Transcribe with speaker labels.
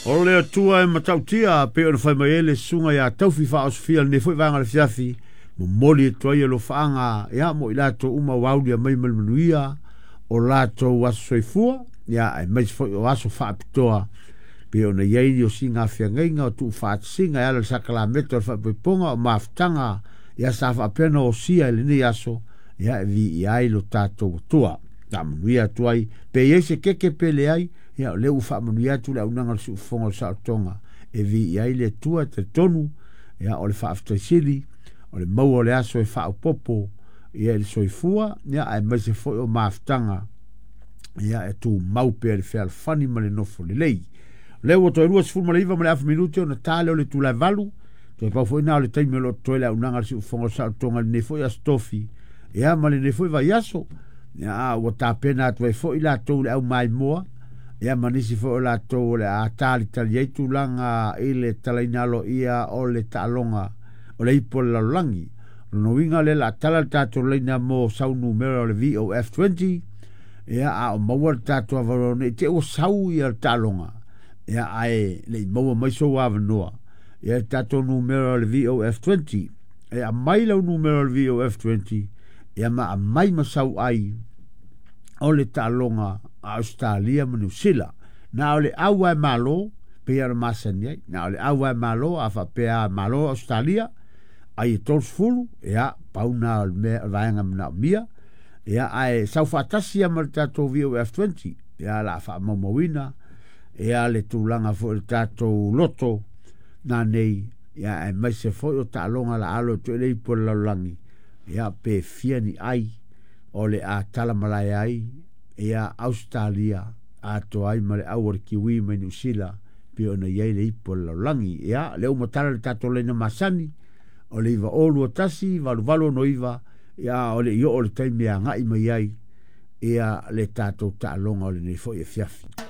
Speaker 1: O le Atua e matautia pei ona fai mai ai le susuga ia Taufi Faaosofia i lenei foi vaega o le afiafi, momoli atu ai alofaaga ia mo i latou uma ua aulia mai ma le manuia o latou aso soifua, ia aemaise foi o aso faapitoa pei ona i ai ni osiga feagaiga o tuufaatasiga e ala i le sakalameta o le faaipoipoga o mafutaga ia sa faapea ona osia i lenei aso, ia e viia ai lo tatou Atua. Faamanuia atu ai, pe i ai se keke pe leai, ia o lea ua faamanuia atu le auaunaga o le siufofoga o le saolotoga e viia ai le Atua. E talitonu, ia o le faafetai sili, o le maua o le aso e faaopoopo ia i le soifua, ia aemaise foi o mafutaga ia e tumau pea le fealofani ma le nofo lelei. O lea ua toe 29 ma le afa minute ona ta lea o le itula e 8, toe pau foi na o le taimi o lo o totoe le auaunaga a le siufofoga o le saolotoga i lenei foi aso tofi, ia ma lenei foi vaiaso. Ia, ua tapena atu ai foi latou le aumaimoa, ia ma nisi foi o latou o le a talitali ai tulaga i le talaina aloaia o le taaloga o le ipu o le lalolagi. O lona uiga o lea o le a tala le tatou laina mo sau numera o le VOF20, ia a o maua le tatou avanoa nei te ua sau ia le taaloga, ia ae le i maua mai sou avanoa, ia le tatou numera o le VOF20, e aumai lau numera o le VOF20, ia ma aumai ma sau ai o le taaloga a Ausetalia ma Niu Sila. Na o le au e malo, pei ona masani ai, na o le au e malo, a faapea malo Ausetalia, ai e 30, ia, pau na o le mea, o le vaega manaomia, ia, ae sau faatasi ia ma le tatou VOF20, ia, la faamaumauina, ia, le tulaga foi o le tatou loto, na nei, ia, aemaise foi o taaloga la alo e toe le ipu o le lalolagi, ia, pe fia ni ai, o le a tala malae ai, ia, Ausetalia, atoa ai ma le au o le Kiwi mai Niu Sila, pei ona i ai le ipu o le lalolagi. Ia, lea ua matala le tatou laina masani, o le 9021 8869, ia, o le i oo le taimi e agai mai ai, ia, le tatou taaloga o lenei foi afiafi.